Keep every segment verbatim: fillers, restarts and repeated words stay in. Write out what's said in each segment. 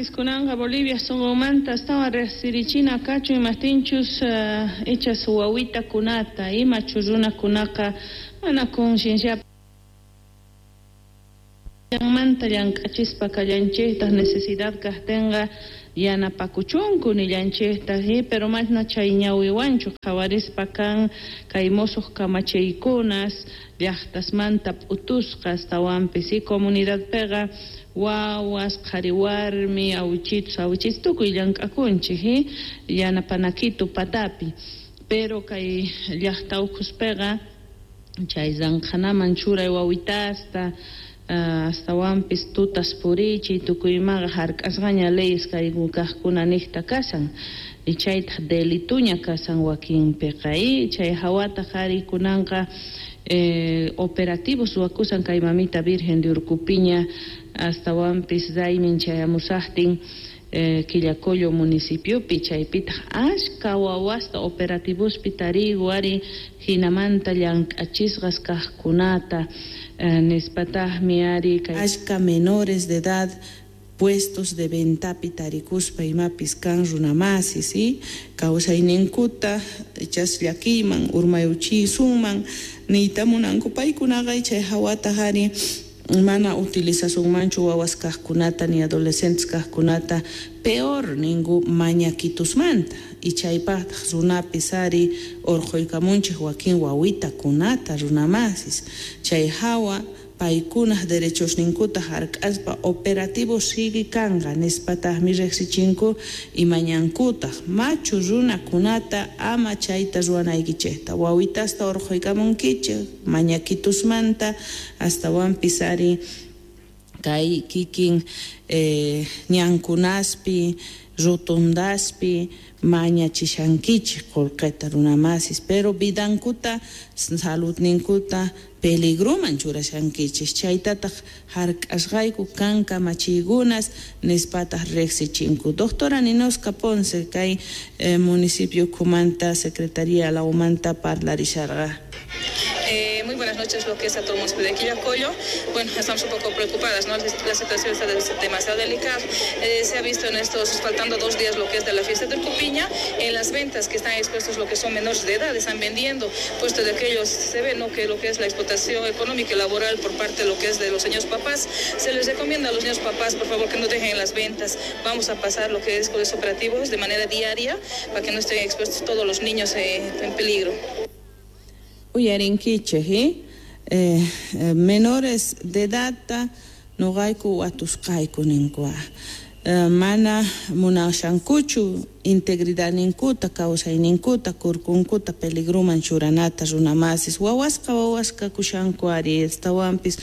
Runamasis kunanqa Bolivia sunqunmanta astawan riqsirichina kachun imaptinchus uh, ichas wawitakunata imachu runakunaqa mana conciencia manta llank'achispa kallanchiktaq necesidad kaqtinqa yanapakuchunku nillanchiktaq pero mana chay ñawiwanchu qhawarispa kan kay musuq kamachiykunas llaqtasmanta p'utusqa astawanpis y comunidadpiqa wawas qhari warmi awichitus awichitus tukuy llank'akunchik yanapanakitu patapi pero kay llaqta ukhuspiqa chay ranqhanaman churay wawitasta astawanpis tutas purichiy tukuymaqa hark'asqaña leyes kay kaqkuna niqta kasan y chaytaq delituña kasan wakinpiqa y chay hawataq ari kunanqa eh, operativos ruwakusan kay mamita Virgen de Urcupiña astawanpis raymin chayamusaqtin eh, Quillacollo municipiopi chaypitaq ashka wawasta operativospi tarigu ari hinamanta llank'achisqas kaqkunata eh, nispataqmi ari kay ashka menores de edad puestos de ventapi tarikuspa imapis kan runamasis ¿sí? Kawsayninkuta ichas llakiyman urmayuchisunman niyta munanku paykunaqa chay hawata ari mana utilizasunmanchu wawas kaqkunata ni adolescentes kaqkunata peor ninku mañakitusmanta y chaypaqtaq runapis ari urquykamunchik wakin wawitakunata runamasis chay hawa paykunaq derechosninkuta hark'aspa operativo sigue kanqa nispataqmi riqsichinku imañankutaq machu runakunata ama chayta ruwanaykichikta wawitasta urquykamunkichik mañakitusmanta astawanpis ari kay kikin eh, ñankunaspi rotondaspi mañachishankichik qullqita runamasis pero vidankuta saludninkuta peligroman churashankichik chaytataq hark'asqayku kan kamachiykunas nispataq riqsichinku. Doctora Ninoska Ponce kay eh, municipio Kumanta Secretaría Laumanta parlarisharqa. Eh, muy buenas noches, lo que es a todo el municipio de Quillacollo. Bueno, estamos un poco preocupadas, ¿no? La situación está demasiado delicada. Eh, se ha visto en estos, faltando dos días lo que es de la fiesta de Urcupiña, en las ventas que están expuestos lo que son menores de edad, están vendiendo, puesto de aquellos se ve, ¿no?, que lo que es la explotación económica y laboral por parte de lo que es de los señores papás. Se les recomienda a los niños papás, por favor, que no dejen las ventas. Vamos a pasar lo que es con los operativos de manera diaria para que no estén expuestos todos los niños eh, en peligro. Uyarinkichik, ¿eh? Eh, eh, menores de edad noqayku watusqayku ninkua eh, mana munashankuchu integridadninkuta kawsayninkuta kurkunkuta peligroman churanata runamasis wawasqa wawasqa kushanku ari astawanpis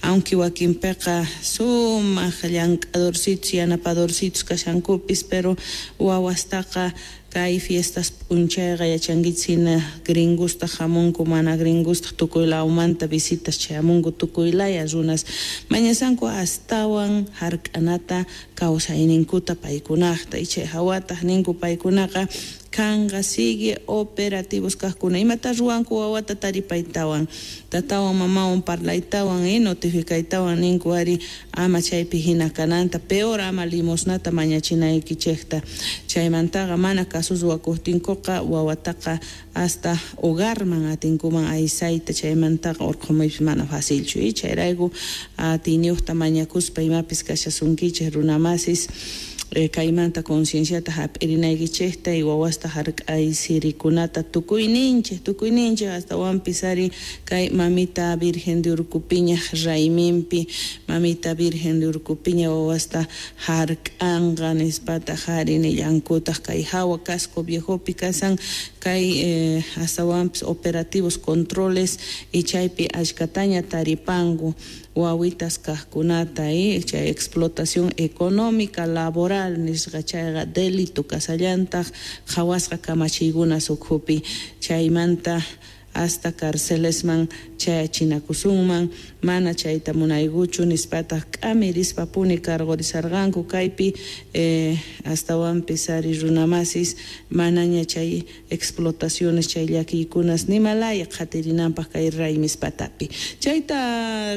aunque wakinpiqa sumaq llank'adorcitos yanapadorcitos kashankupis pero wawastaqa kay fiestas p'unchayqa yachankichik hina gringusta hamunku mana gringusta tukuy lawmanta visitas chayamunku tukuy laya runas mañasanku astawan hark'anata kawsayninkuta paykunaqta y chay hawataq ninku paykunaqa kanqa sigue operativos kaqkuna imata ruwanku wawata taripaytawan tatawan mamawan parlaytawan y notificaytawan ninku ari ama chaypi hina kananta peor ama limosnata mañachinaykichikta chaymantaqa mana caso ruwakuqtinkuqa wawataqa hasta hogarman atinkuman aysayta chaymantaqa urqumuypis mana facilchu y chayrayku atiyniyuqta mañakuspa imapis kashasunkichik runamasis Eh, kaymanta concienciata hap'irinaykichikta y wawasta hark'aysirikunata tukuyninchik tukuyninchik astawanpis ari kay mamita Virgen de Urcupiña rayminpi mamita Virgen de Urcupiña wawasta hark'anqa nispataq ari nillankutaq kay hawa casco viejopi kasan kay eh, astawanpis operativos controles y chaypi ashkataña taripanku wawitas kaqkunata y chay explotación económica laboral nisqa chayqa delito kasallantaq qhawasqa kamachiykunas ukhupi chaymanta hasta carcelesman chayachinakusunman mana chayta munaykuchu nispataq k'amirispa puni cargorisarqanku kaypi eh, astawanpis ari runamasis manaña chay explotaciones chay llakiykunas nimalaya qhatirinanpaq kay raymis patapi chayta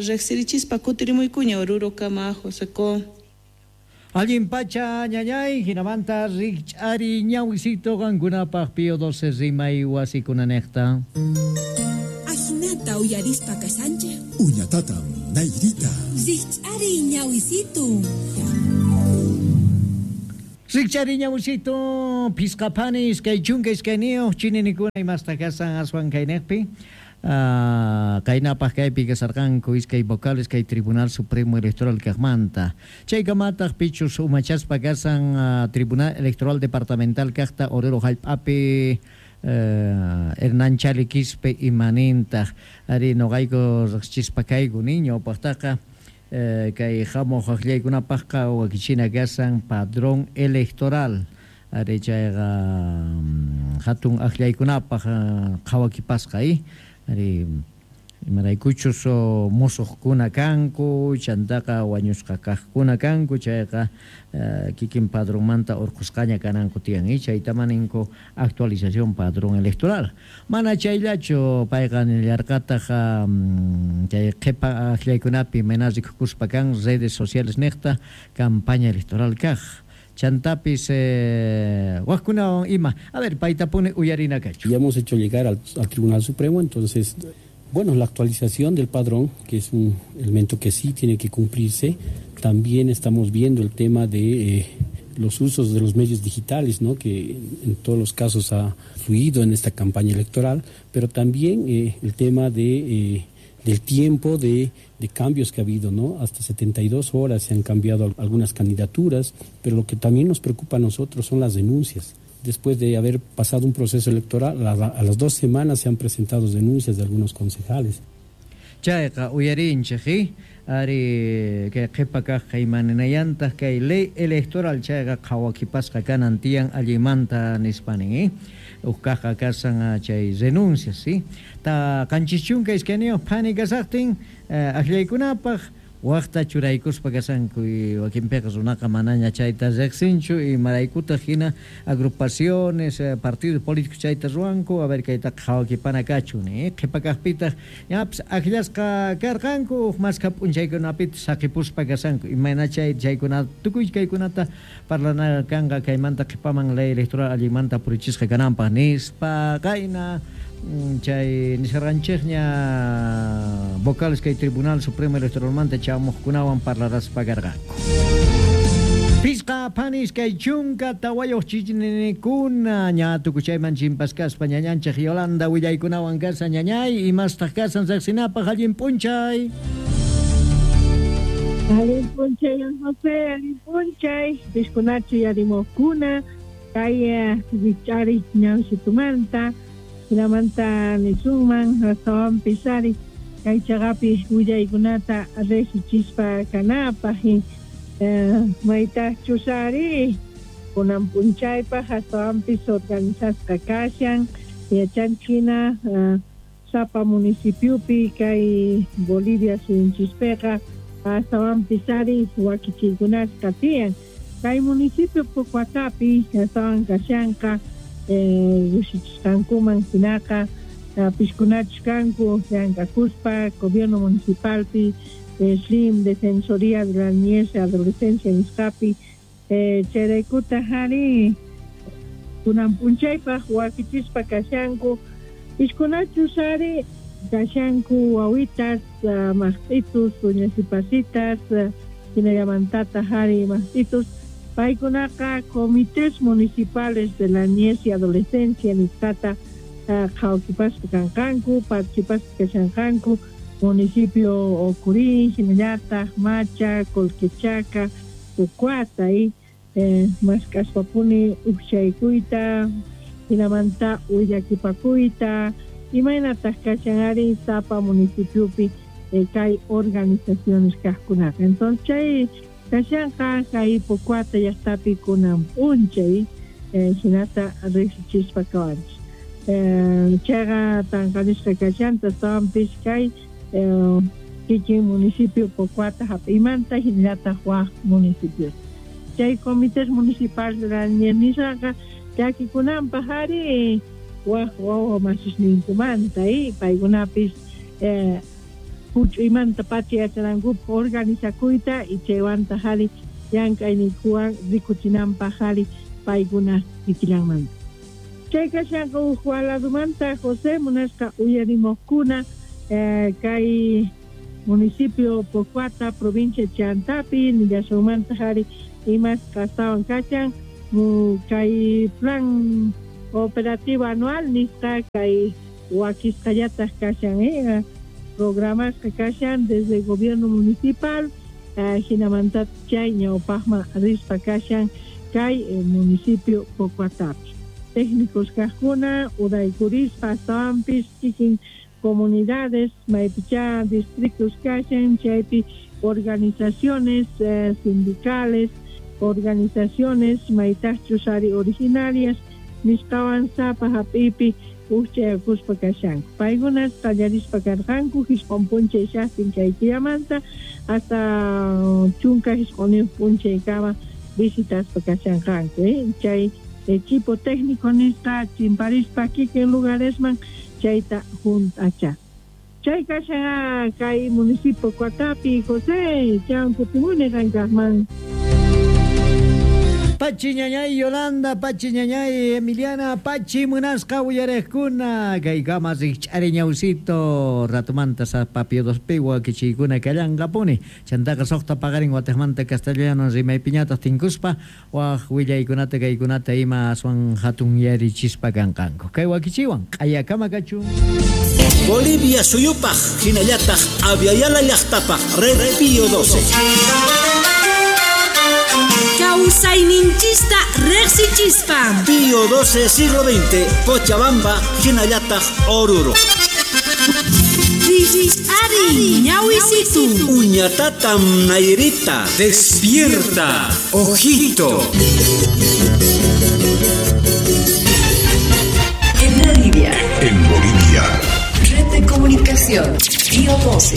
riqsirichispa kutirimuykuña Oruro kama Joseco. Allin pacha ñañay, hinamanta rikch'ari ñawisito qankunapaq Pío doce rimay wasikunanejta. Ajinata uyarispa kashanchej. Uñatatam nayrita. Rikch'ari ñawisito. Rikch'ari ñawisito, pisqapani iskay chunka iskayniyuq chininikuna imasta kasan aswan kaynejpi. Uh, kaynapaq kaypi kasarqanku iskay vocales kay Tribunal Supremo Electoral kaqmanta. Chaykamataq pichus umachaspa kasan uh, Tribunal Electoral Departamental kaqta Oruro hallp'api uh, Hernán Chali Quispe imanintaq ari noqayku riqsichispa kayku niño paqtaqa uh, kay hamuq aqllaykunapaqqa wakichina kasan padrón electoral ari chayqa um, hatun aqllaykunapaq uh, qhawakipasqa i ari imaraykuchus musuqkuna kanku chantaqa wañusqa kaqkuna kanku chayqa uh, kikin padronmanta urqusqaña kananku tiyan y chaytaman ninku actualización padrón electoral mana chayllachu payqa nillarqataq um, chay qhipa aqllaykunapi mana rikukuspa kan redes sociales niqta campaña electoral kaq chantapis eh, wajkunawan ima. A ver, paytapuni uyarina kachu. Ya hemos hecho llegar al, al Tribunal Supremo, entonces, bueno, la actualización del padrón, que es un elemento que sí tiene que cumplirse. También estamos viendo el tema de eh, los usos de los medios digitales, ¿no?, que en todos los casos ha fluido en esta campaña electoral, pero también eh, el tema de... Eh, del tiempo de, de cambios que ha habido, ¿no? Hasta setenta y dos horas se han cambiado algunas candidaturas, pero lo que también nos preocupa a nosotros son las denuncias. Después de haber pasado un proceso electoral, a, a las dos semanas se han presentado denuncias de algunos concejales. Chayqa uyarinchej, ari kay qhipa kaq imaninayantaq kay ley electoral chayqa qhawakipasqa kanan tiyan allimanta nispanin, eh? Uqkaqqa kasan chay renuncias, ¿sí? Ta qanchis chunka iskayniyuq phani kasaqtin aqllaykunapaq waqta churaykuspa kasanku y wakinpiqa runaqa manaña chayta riqsinchu imaraykutaq hina agrupaciones, partidos políticos chayta ruwanku, a ver kaytaqa qhawakipana kachun, eh? Qhipa kaqpitaq ñapis aqllasqa karqanku uq maskha p'unchaykunapitaq saqipuspa kasanku imayna chay chaykuna tukuy kaykunata parlana kanqa kaymanta qhipaman ley electoral allinmanta purichisqa kananpaq nispa qayna chay nisharqanchikña vocales kay Tribunal Supremo Electoralmanta chamuqkunawan parlaraspa karqanku. Pisqa panis kay chunka tawayuq chichninikuna ña tukuchayman chimpaskaspa ñañanchik Yolanda willaykunawan kasa ñañay imastaq kasan riqsinapaq allin p'unchay. Allin p'unchay José, allin p'unchay piskunachu yarimuqkuna kay richari ñawsitumanta hinamanta nisunman astawanpis ari kay chaqapi willaykunata riqsichispa kanapaq maytaqchus ari kunan p'unchaypaq astawanpis organizasqa kashan yachanchina sapa municipiopi kay Bolivia suyunchispiqa astawanpis ari wakichiykunasqa tiyan kay municipio Pocoatapi astawan kashanqa llushichisqankuman hinaqa piskunachus kanku llank'akuspa gobierno municipalpi S L I M Defensoría de la Niñez y Adolescencia nisqapi chayraykutaq ari kunan p'unchaypaq wakichispa kashanku piskunachus ari kashanku wawitas maqt'itus uñasipasitas hinallamantataq ari maqt'itus paykunaqa comités municipales de la niñez y adolescencia nisqata qhawakipaspa kanqanku participaspa kashanqanku municipio Ocurín, hinallataq Macha, Colquechaca, Pocoata y eh, mask'aspapuni ukchaykuyta hinamanta willakipakuyta imaynataq kashan ari sapa municipiopi eh, kay organizaciones kaqkunaqa. Entonces chay kashanqa kay Pocoata llaqtapi kunan p'unchay eh, hinata riqsichispa kawanchik. Eh, chayqa tanqanisqa kashanta astawanpis kay eh, kikin municipio Pocoata hap'imanta hinallataq waq municipios. Chay comités municipales de la niñez nisqaqa llakikunanpaq ari waq wawa masisninkumanta y paykunapis eh, huch'uymanta pacha yachanankupaq organizakuyta y chaywantaq ari llank'ayninkuwan rikuchinanpaq ari paykuna kikillanmanta. Chay kashanqa uj waladumanta José munasqa uyarimuqkuna eh, kay municipio Pocoata, provincia Chantapi, nillasunmanta ari imas kastawan kachan kay plan operativo anual nisqa kay wakisqallataq kashan eh, programasqa kashan desde el gobierno municipal eh, hinamanta chay ñawpaqman rispa kashan kay eh, municipio Pocoatapi. Técnicos kaqkuna uraykurispa astawanpis kikin comunidades maypicha distritos kashan chaypi organizaciones eh, sindicales, organizaciones maytaqchus ari originarias nisqawan sapa hap'ipi ujchayakuspa kashanku. Paykunas qallarispa karqanku jisq'un p'unchay shaqtin kay killamanta hasta chunka jisq'uniyuq p'unchaykama visitaspa kashanqanku eh? Chay equipo técnico nisqa chimparispa kikin lugaresman chayta junt'acha. Chay kashan kay municipio Coatapi, José, chan kutimuni qankaqman. Pachi ñañay Yolanda, Pachi ñañay Emiliana, Pachi munasqa uyarejkuna, kaykama rikch'ari ñawsito, ratumanta sapapio dos piwa kichiykuna kallanqapuni, chantaqa suqta paqarin wataqmanta castellano rimaypiñataq tinkuspa, waq willaykunata kaykunata ima aswan hatun yarichispa kanqanku. Kay wakichiwan, q'ayakama kachun. Bolivia suyupaq, hinallataq Aviala llaqtapaq, Red Pío doce. Kawsayninchista riqsichispa. Pío doce, siglo veinte, Cochabamba, hinallataq Oruro. Ari, ñawisitu. Uñatatam Nairita. Despierta, ojito. En Bolivia. En Bolivia. Red de comunicación, Pío doce.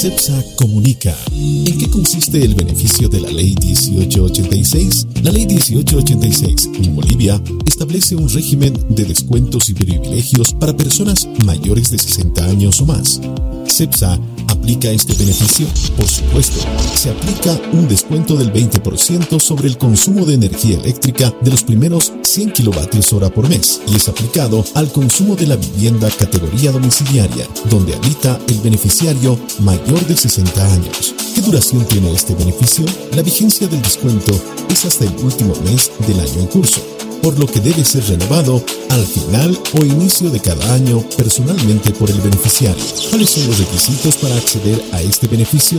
CEPSA comunica. ¿En qué consiste el beneficio de la Ley dieciocho ochenta y seis? La Ley dieciocho ochenta y seis en Bolivia establece un régimen de descuentos y privilegios para personas mayores de sesenta años o más. CEPSA aplica este beneficio? Por supuesto, se aplica un descuento del veinte por ciento sobre el consumo de energía eléctrica de los primeros cien kilovatios hora por mes y es aplicado al consumo de la vivienda categoría domiciliaria, donde habita el beneficiario mayor de sesenta años. ¿Qué duración tiene este beneficio? La vigencia del descuento es hasta el último mes del año en curso, por lo que debe ser renovado al final o inicio de cada año personalmente por el beneficiario. ¿Cuáles son los requisitos para acceder a este beneficio?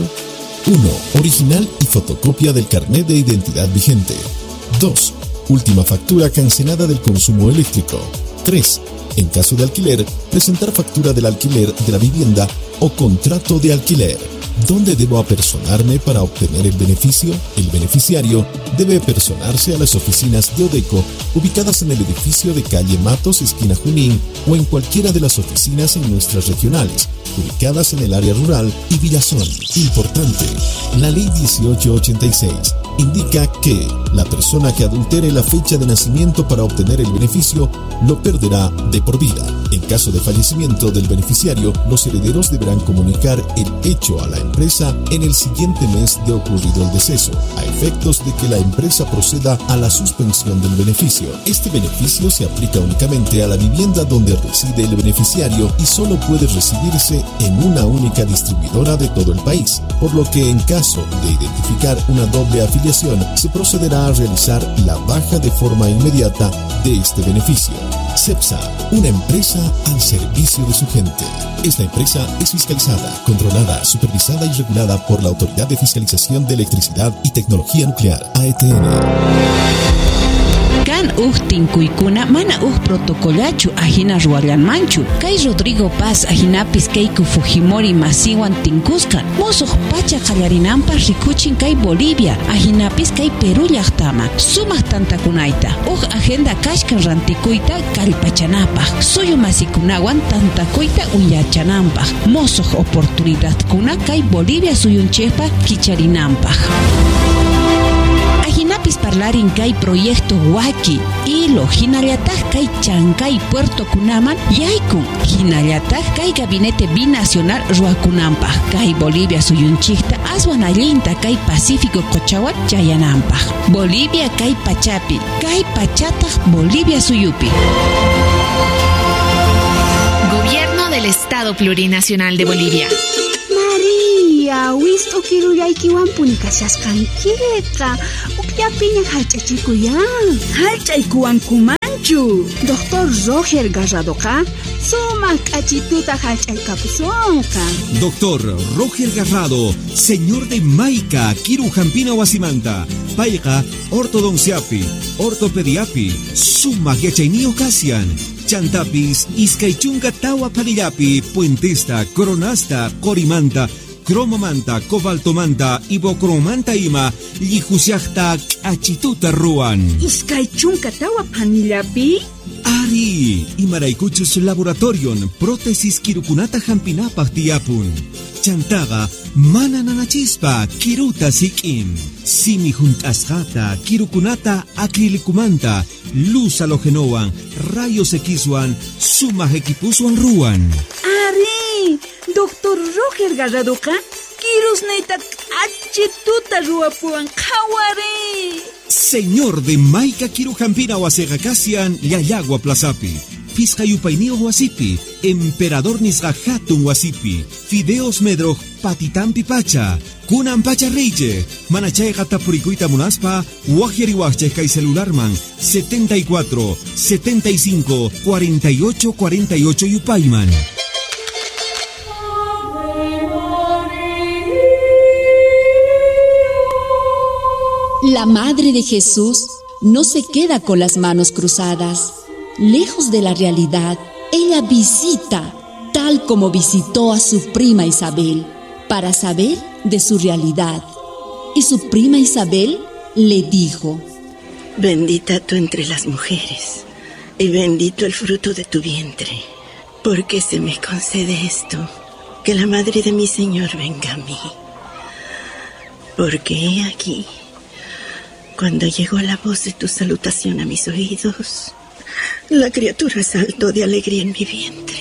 uno. Original y fotocopia del carnet de identidad vigente. dos. Última factura cancelada del consumo eléctrico. tres. En caso de alquiler, presentar factura del alquiler de la vivienda o contrato de alquiler. ¿Dónde debo apersonarme para obtener el beneficio? El beneficiario debe apersonarse a las oficinas de Odeco ubicadas en el edificio de calle Matos, esquina Junín, o en cualquiera de las oficinas en nuestras regionales, ubicadas en el área rural y Villazón. Importante, la Ley dieciocho ochenta y seis indica que la persona que adultere la fecha de nacimiento para obtener el beneficio lo perderá de por vida. En caso de fallecimiento del beneficiario, los herederos deberán comunicar el hecho a la empresa en el siguiente mes de ocurrido el deceso, a efectos de que la empresa proceda a la suspensión del beneficio. Este beneficio se aplica únicamente a la vivienda donde reside el beneficiario y solo puede recibirse en una única distribuidora de todo el país, por lo que en caso de identificar una doble afiliación, se procederá a realizar la baja de forma inmediata de este beneficio. CEPSA, una empresa al servicio de su gente. Esta empresa es fiscalizada, controlada, supervisada y regulada por la Autoridad de Fiscalización de Electricidad y Tecnología Nuclear, A E T N. Kan uj tinkuykuna mana uj protocolachu ajina ruwallanmanchu. Kay Rodrigo Paz ajinapis Keiko Fujimori masiwan tinkusqa musuq pacha qallarinanpaq rikuchin kay Bolivia ajinapis kay Perú llaqtama sumaq tantakunayta uj agenda kashkan rantikuyta kallpachanapaq suyu masikunawan tantakuyta uyachananpaq musuq oportunidadkuna kay Bolivia suyunchikpa kicharinanpaq. Ajinapis Chantapis parlarin kay proyecto Waki, Ilo, hinallataj kay Chancay Puerto kunaman yaykun, hinallataj kay gabinete binacional ruwakunanpaj, kay Bolivia suyunchikta aswan allinta kay Pacífico qochawan chayananpaj. Bolivia kay pachapi, kay pachataj Bolivia suyupi. Gobierno del Estado Plurinacional de Bolivia. María, wist'u kirullaykiwanpuni kashasqankiqa. Ukllapiña hallch'achikuyan. Hallch'aykuwankumanchu. Doctor Roger Garradoqa sumaq k'achituta hallch'aykapusunqa. Doctor Roger Garrado, señor de Maica, Kiru Jampina Wasimanta, payqa ortodonciapi, ortopediapi, sumaq yachayniyuq kasian. Chantapis, iskay chunka tawa panillapi, puentesta, coronasta, corimanta, cromomanta, cobaltomanta, ibocromanta ima, llijusiajta k'achituta ruwan. Iskay chunka tawa panillapi? Ari, imaraykuchus laboratorion, prótesis kirukunata hampinapaj tiyapun. Chantaqa mana nanachispa kiruta sik'in. Simi junt'asqata, kirukunata acrilicumanta, luz halogenowan, rayos Xwan, sumaq equipuswan ruwan. Ari, doctor Roger Garradoqa kirusniyta k'achituta ruwapuwan qhawari. Señor de Maica Kirujampina wasiqa kasian Llallagua Plazapi, Pisqa yupayniyuq wasipi, Emperador nisqa hatun wasipi, Fideos Medroj patitampi pacha, kunan pacha reyche, manachayqa tapurikuyta munaspa, waqyariwaqchej kay celularman setenta y cuatro, setenta y cinco, cuarenta y ocho, cuarenta y ocho yupayman. La Madre de Jesús no se queda con las manos cruzadas. Lejos de la realidad, ella visita, tal como visitó a su prima Isabel, para saber de su realidad. Y su prima Isabel le dijo: Bendita tú entre las mujeres, y bendito el fruto de tu vientre. ¿Por qué se me concede esto? Que la madre de mi Señor venga a mí. Porque he aquí, cuando llegó la voz de tu salutación a mis oídos, la criatura saltó de alegría en mi vientre.